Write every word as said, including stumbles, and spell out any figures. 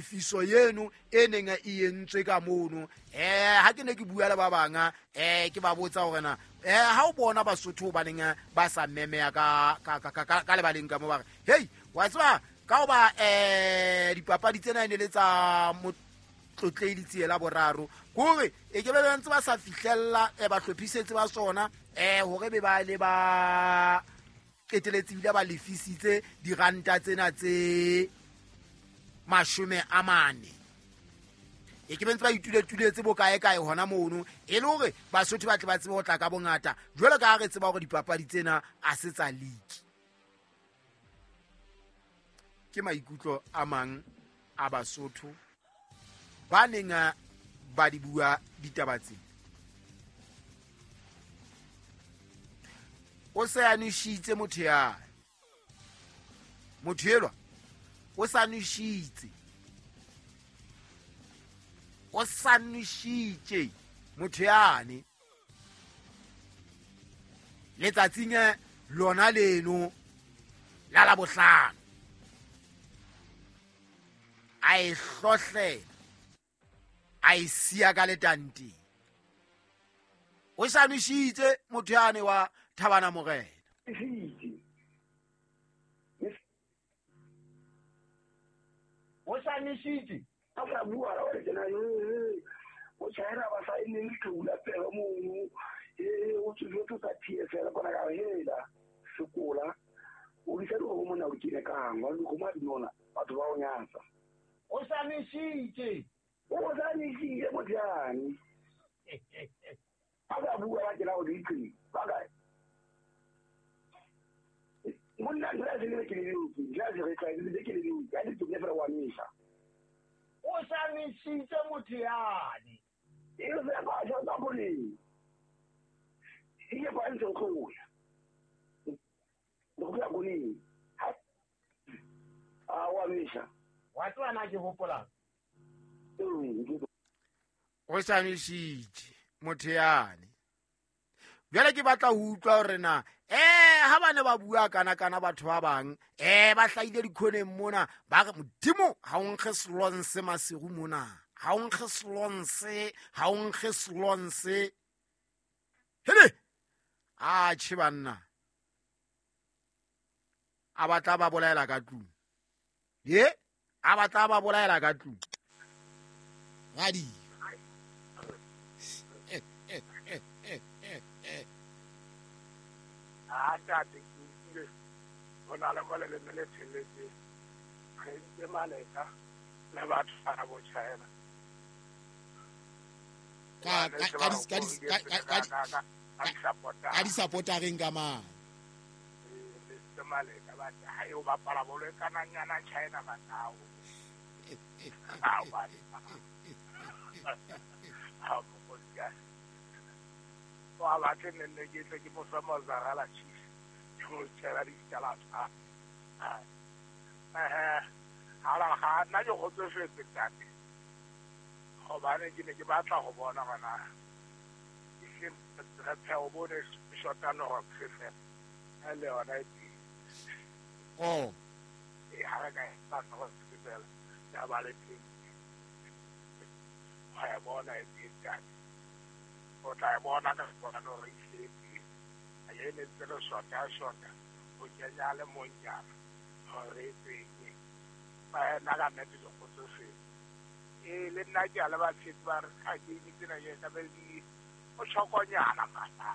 Tefiso eno e neng e entswe ka mono. Eh ha ke ne ke bua le ba banga eh ke ba botsa hore na eh ha o bona Basotho ba neng ba sa memeya ka ka ka ka lebaleng ka mo ba re hey wa tseba ka hoba eh dipapadi tsena e ne le tsa Motlotlei Letsie boraro kore e ke be ba ntse ba sa fihlella ba hlophisetse ba sona eh hore be ba le ba qeteletse bile ba lefisitse diranta tsena tse mashome a mane e ke bentse ba ituletuletse bokae kae hona mono e le hore Basotho ba tle ba tsebe ho tla ka bongata jwalo ka ha re tseba hore dipapadi tsena a se tsa league. Ke maikutlo a mang a Basotho ba neng ba di bua ditaba tsena. O se a nwešitse motho ya motho elwa o sa nwešitse o sa nwešitše motho yane letsatsing lona leno la la bohlano a e hlohlela a e siya ka letanteng. O sa nwešitse motho yane wa Thabana Morena. O sa nwešitše a sa bua ra re tsena e o tshwaera ba sa ene le tlola pela mono e o tsotso tsa P S L kona ka hela sekola o di sa go mona o kile kang wa go ma dinona batho ba o nyatsa. O sa nwešitše o sa nwešitše motjane a ba bua ba tsela o di tsi ba kae monna nna se le ke le ke ja se re tla le ke le ke a di tsoke fela wa misa. O sa nwešitše motho yane e se ba ja ba bole e ba ntse go ya go ya go ni a wa misa wa tswana ke hopola o sa nwešitše motho yane. Bjale ke batla ho utlwa hore na eh ha bane ba bua kana kana batho ba bang eh ba hlaile dikhoneng mona ba re modimo ha o nkge slonse masiru mona ha o nkge slonse ha o nkge slonse hele a tjhe banna a batla ba bolaela ka tlung ye a batla ba bolaela ka tlung radi eh eh eh eh eh eh a tate ke bona le go le le theletse re ntse maleka le batho ba bo China ka ka ka ka ka ka di supporta reng ka mang le maleka ba ha yo ba pala bolo kana nyana China ba tao a ba ha mo ka wa ba ke nne ke tle ke mo fa mozarala chief ke mo tshela di tsala tsa eh ha la ha nna ke go tsofetse tate gobane ke ne ke batla go bona gona ke re pheo bone shota no go fela le yona e oh e ha re ka ba go fela ya ba le teng wa ya bona e teng o tla bona ka bona no re ile a ye ne tselo shota shota o kenya le monyana hore teng ba na ka nete go tsofe e le nna ke a le ba tshetsi ba re ka ke tsena ye ka be di o tshokonyana mata.